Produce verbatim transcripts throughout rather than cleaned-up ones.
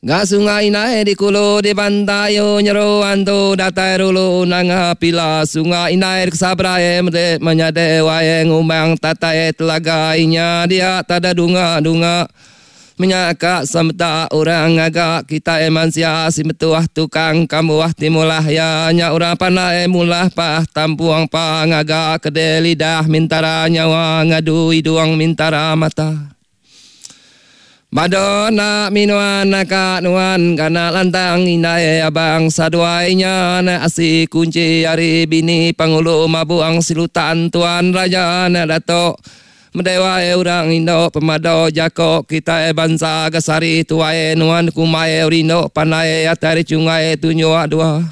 Ga sungai nai di kulu di pantai nyeru antu datai rulu nanga pila sungai nai kesabrai mede menyade wae ngumang tatai telaga inya dia tada dunga-dunga menyaka semeta orang ngaga kita emansia si metuah tukang kamuah timulah ya nya orang pandai mulah pah tampuang pa ngaga kede lidah mintara nyawa ngadu hidung mintara mata. Bado nak minuan naka nuan kana lantang indai abang saduai nya na asi kunci ari bini pangulu mabuang silutan tuan raja na datuk medewa orang indo pemado jako kita bangsa gasari tuai nuan kumai rindo pandai atari cungai tunjuk dua.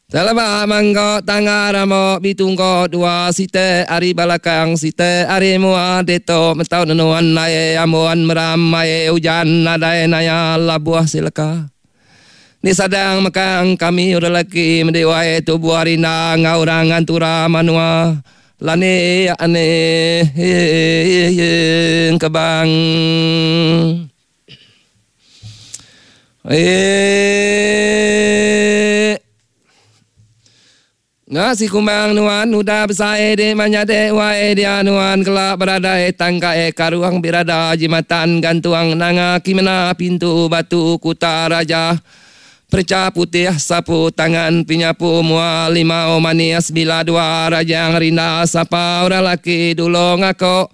Talaba manggo tangga ramo bitunggo dua site ari balakang site ari mua deto mentau nenuan nae amuan meramai hujan nadai naya labuah silaka. Ni sadang makang kami udah laki mendewai tubuh arina ngaurang antura manua lani ane kebang. Eh Ngasi kumbang nuan udah besai di manyade wae dia nuan kelak berada e tangka e karuang birada jimatan gantuang nanga kimena pintu batu kuta raja perca putih sapu tangan pinyapu mua lima o manis bila dua rajang rinda sapa orang laki dulu ngako